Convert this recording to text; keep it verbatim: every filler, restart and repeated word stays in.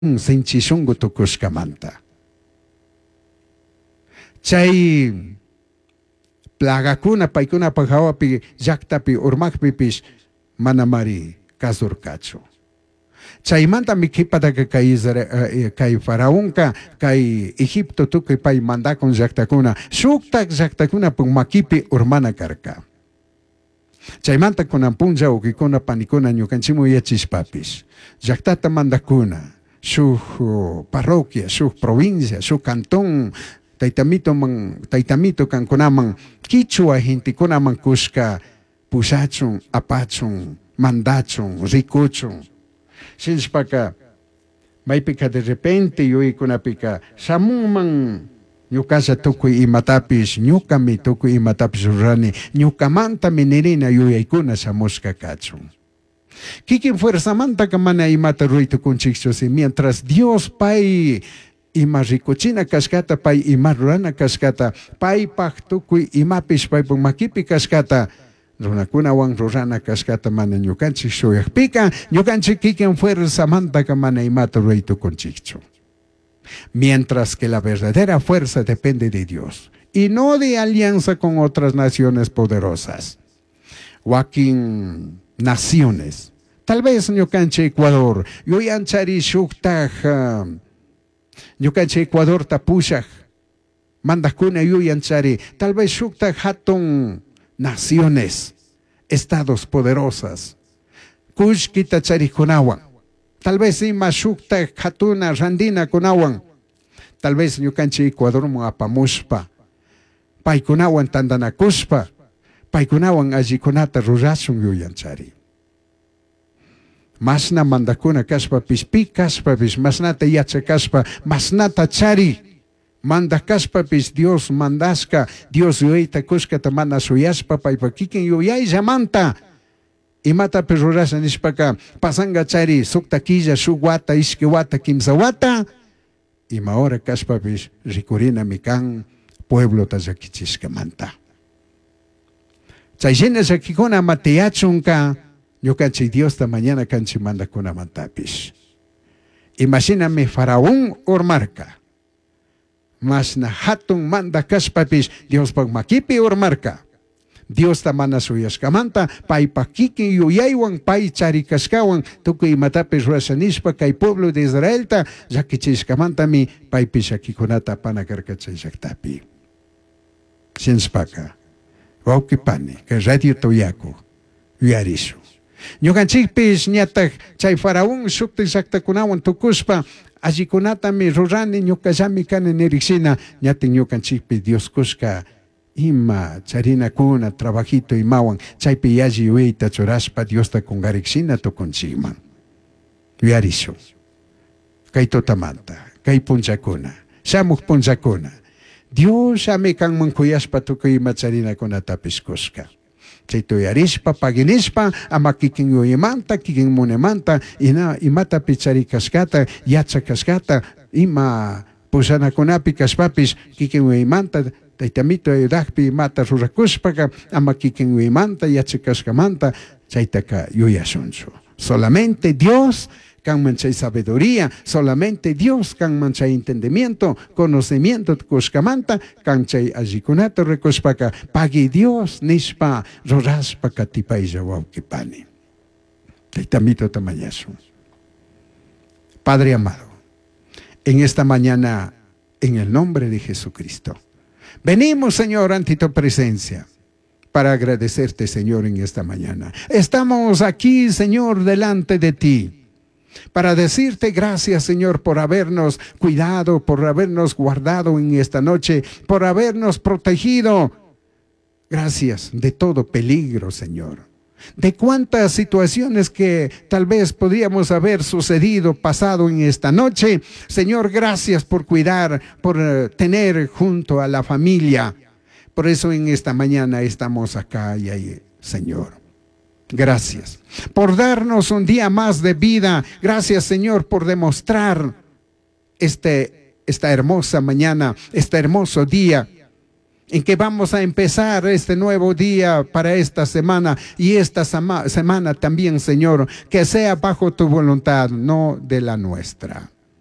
Sinchi shungu tucushcamanta. Chay plagacuna paicunapaj jahuapi llaktapi urmajpipish manamari kazurcachu. Chaymantami qhipataka kay Isra- kay faraonka kay Egipto tukuy pay mandakun llaktakuna shuktak llaktakunapuk makipi urmana karka. Chaymanta kunan punlla wawqikuna panikuna ñukanchikman yachishpapish llaktata mandakuna shuk parroquia, shuk provincia, shuk cantón taytamitoman taytamito kankunaman kichwa gentekunaman kushka pushachun, apachun, mandachun, rikuchun. Shinashpaka maypika de repente yuyaykunapika shamunman ñukalla tukuy imatapish ñukami tukuy imatapish rurani ñukamantami nirina yuyaykuna shamushka kachun. Kikin fuerzamantaka mana imata ruray tukunchikchu si mientras Dios pay ima rikuchina kashkata pay ima rurana kashkata paypaj tukuy imapish paypaj makipi kashkata runakunawan rurana kashkata mana ñukanchik shuyakpika ñukanchik kikin fuerzamantaka mana imata ruray tukunchikchu. Mientras que la verdadera fuerza depende de Dios y no de alianza con otras naciones poderosas. Wakin naciones. Tal vez ñukanchik Ecuador, yuyanchari shuktaj ñukanchik Ecuadorta pushaj mandajkuna yuyanchari, tal vez shuktaj hatun naciones, estados poderosas, kullkita charikunawan, tal vez ima shuktaj hatuna randina kunawan, tal vez ñukanchik Ecuadorman apamushpa, paykunawan tantanakushpa, paykunawan allikunata rurashun yuyanchari. Masna mandakuna kashpapish, pi kashpapish, masnata yachakashpa, masnata chari, mandak kashpapish Dios mandashka, Dios yuyayta kushkata mana shuyashpa paypa kikin yuyayllamanta imatapish rurasha nishpaka pasanga chari sukta killa, shuk wata, ishki wata, kimsa wata, ima hora kashpapish rikurinami kan pueblota llakichishkamanta. Chay shina llakikuna ama tiyachunka ñukanchik Diosta mañana kanchik mandakunamantapish. Imashinami faraón urmarka. Mashna hatun mandak kashpapish Diospaj makipi urmarka. Diosta mana shuyashkamanta paypaj kikin yuyaywan pay charikashkawan tukuy imatapish rurasha nishpa kay pueblo de Israelta llakichishkamantami paypish llakikunata apana karka chay llaktapi. Shinashpaka wawqi pani kay radio tuyaku yuyarishun. Ñukanchikpish ñataj chay faraón shuktik llaktakunawan tukushpa allikunatami rurani ñukallami kani nirikshina ñatin ñukanchikpi Dios kushka ima charinakuna trabajito imawan chaypi yalli yuyayta churashpa Diosta kungarikshina tukunchikman. Yuyarishun. Kay tutamanta, kay punllakuna, shamuj punllakuna, Dios llami kanman kuyashpa tukuy ima charinakunatapish kushka. Chayta uyarishpa, paginishpa, ama kikin yuyaymanta, kikin munaymanta, ina imatapi charikashkata, yachakashkata, ima pushanakunapi kashpapish kikin yuyaymanta, taytamito ayudakpi imata rurakushpaka, ama kikin yuyaymanta, yachakashkamanta, chaytaka yuyashunchu. Solamente Dios kanman chay sabiduría, solamente Dios kanman chay entendimiento, conocimiento kushkamanta, kan chay allikunata rikushpaka, pagui Dios nishpa rurashpa katipaylla wawqipani. Taytamito tamañashun. Padre amado, en esta mañana, en el nombre de Jesucristo, venimos, Señor, ante tu presencia para agradecerte, Señor, en esta mañana. Estamos aquí, Señor, delante de ti, para decirte gracias, Señor, por habernos cuidado, por habernos guardado en esta noche, por habernos protegido. Gracias de todo peligro, Señor. De cuántas situaciones que tal vez podríamos haber sucedido, pasado en esta noche. Señor, gracias por cuidar, por tener junto a la familia. Por eso en esta mañana estamos acá y ahí, Señor. Gracias por darnos un día más de vida. Gracias, Señor, por demostrar este, esta hermosa mañana, este hermoso día en que vamos a empezar este nuevo día para esta semana y esta semana también, Señor, que sea bajo tu voluntad, no de la nuestra.